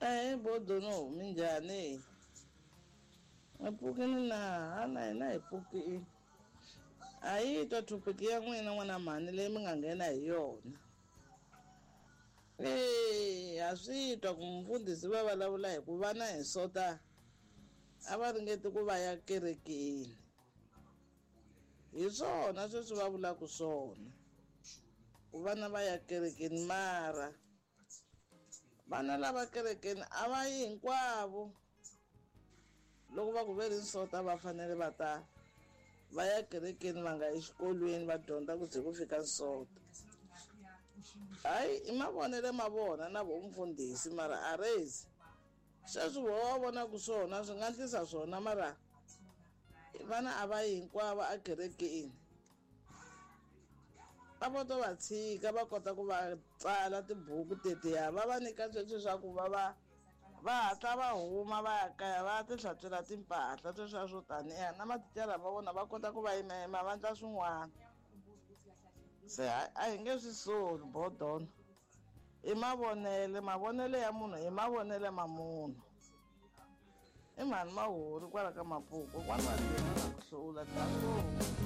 Ahee Bodono, minjhani? Mi pfukile na? Ha na hina hi pfukile. A yi twa topic ya n'wina n'wana mhani leyi mi nga nghena hi yona. Eya ha swi twa ku mufundhisi va vulavula hi ku vana hi sota a va ringeti ku va ya kerekeni. Hi swona sweswi va vulaka swona ku vana va ya kerekeni mara vana lava kerekeni a va yi hinkwavo loko va ku ve ri nsota va fanele va ta va ya kerekeni va nga exikolweni va dyondza ku ze ku fika nsota hayi i mavonelo ma vona na vo mfundhisi mara a rezi sweswi vo va vonaka swona swi nga ndlisa swona mara vana a va yi hinkwavo ekerekeni a vo to va tshika va kota ku va tsala tibuku tetiya va va nyika sweswi swa ku va va va hatla va huma va ya kaya va ya ti hlantswela timpahla sweswiya swo taniya na mathicara ma vona va kota ku va yimayima va ndla swin'wana se a hi nge swi soli bodono i mavonele mavonele ya munhu i mavonele ma munhu i mhani mahori kwala ka mapuku kwana va ku hlula ta.